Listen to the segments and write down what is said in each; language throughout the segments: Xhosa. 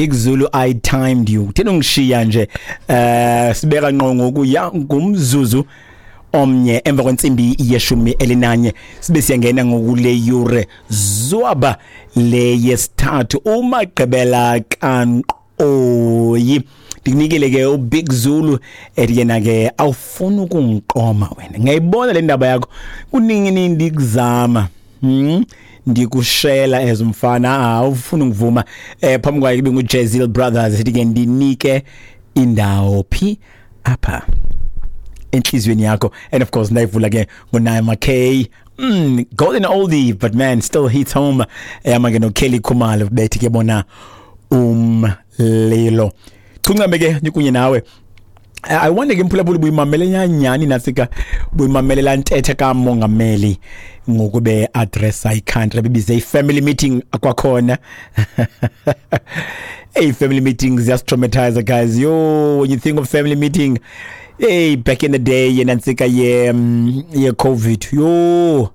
Big Zulu, I timed you. Utheni ungishiya nje? Sibeka ngqo ngoku ya ngumzuzu omnye emva kwentsimbi ye-11, sibe siyangena ngokule yure zwaba le yesithathu, umagqibela kanqoyi. Ndikunikele ke uBig Zulu, ethi yena ke awufuni ukungiqoma wena. Ngiyayibona le ndaba yakho, kuningi ndikuzama, Ndikushela as umfana, awufuni ngivuma. Phambi kwayo kube nguJazil Brothers, ethi ke ndinike indawo phi apha enhliziyweni yakho. And of course ndayivula ke ngoNaima K, golden oldie, but man, still hits home. Eyama ke noKelly Khumalo, bethi ke bona umlilo chuncambe ke nikunye nawe. I wonder ke, mphulaphula, buyimamele nyani nasika, buyimamele laa ntetha kamongameli ngokube addressa i-country, bebize i-family meeting kwakhona? Hey, family meetings ziyasitraumatize, guys. Yo, when you think of family meeting, hey, back in the day, yenantsika ye COVID, yo,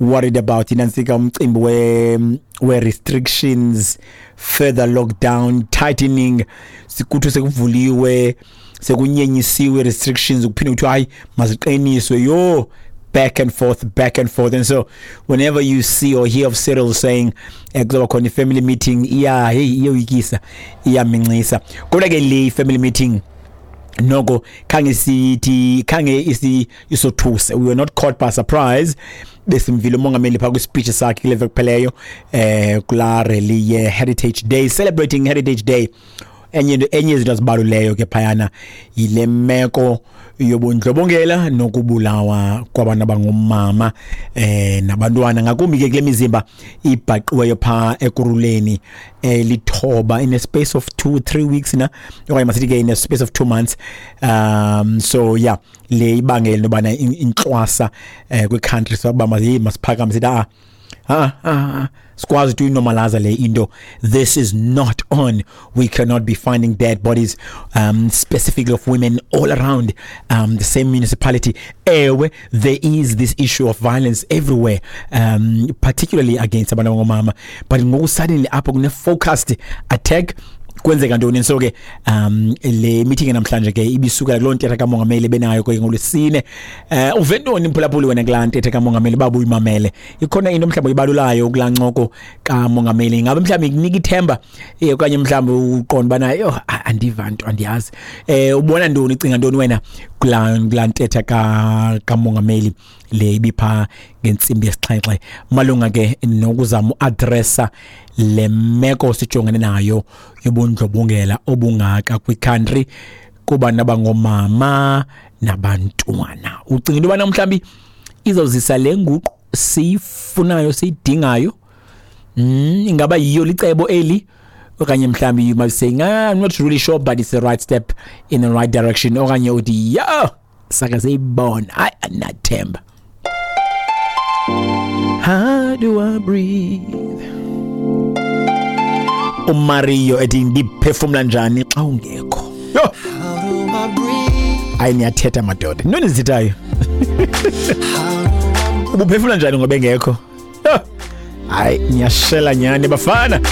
worried about inantsika umcimbi we restrictions, further lockdown, tightening. Sikuthu sekuvuliwe, sekunyenyisiwe restrictions, kuphinde kuthiwa hayi, maziqiniswe. Yo, back and forth, back and forth. And so whenever you see or hear of Cyril saying kuzoba khona i-family meeting, iya, hey, iyoyikisa, iyamincisa. Kodwa ke le family meeting noko khange sithi khange isi isothuse. We were not caught by surprise. Besimvile umongameli phaa kwispeech sakhe kule veki kupheleyo, kulaa rally ye Heritage Day, celebrating Heritage Day. Enye into, enye izinto azibaluleyo ke phayana yile meko yobundlobongela nokubulawa kwabantu abangomama nabantwana, ngakumbi ke kule mizimba ibhaqiweyo phaa Ekurhuleni lithoba in a space of 2-3 weeks na, okanye masithi ke in a space of 2 months. So yeah, le ibangela into yobana intlwasa kwi-country sokuba masiphakame sithi, ah ah ah, sikwazi ukuthi uyinormalize le into. This is not on. We cannot be finding dead bodies, specifically of women, all around the same municipality. Ewe, there is this issue of violence everywhere, particularly against abantu abangomama, but ngoku suddenly apho kune focused attack, kwenzeka ntoni? So ke le meeting namhlanje ke ibisukela kuloo ntetha kamongameli benayo ke ngolwesine. Uve ntoni, mphulaphuli, wena kulaa ntetha kamongameli? Baba uyimamele, ikhona into mhlawumbi oyibalulayo kulaa ncoko kamongameli? Ngabe mhlawumbi ikunika ithemba, okanye mhlawumbi uqonda ubana yho, andiva nto, andiyazi? Ubona ntoni, ucinga ntoni wena kulaa ntetha kamongameli le ibipha ngentsimbi yesixhenxe malunga ke nokuzama uaddressa le meko sijongene nayo yobundlobongela obungaka kwicountry kubantu abangomama nabantwana? Ucinga into yobana mhlawumbi izawuzisa le nguqu siyifunayo, siyidingayo? Ingaba yiyo licebo eli, okanye mhlawumbi you might say, "Ah, I'm not really sure, but it's the right step in the right direction," okanye uthi, "Yo, sake siyibona, hayi, andinathemba"? How do I breathe? UMario ethi ndiphefumla njani xa ungekho? Yho. How do I breathe? Hayi, niyathetha madoda, ntoni zithethayo? How do I Ubuphefumla njani ngoba engekho? Yho. Hayi, niyashela nyani bafana.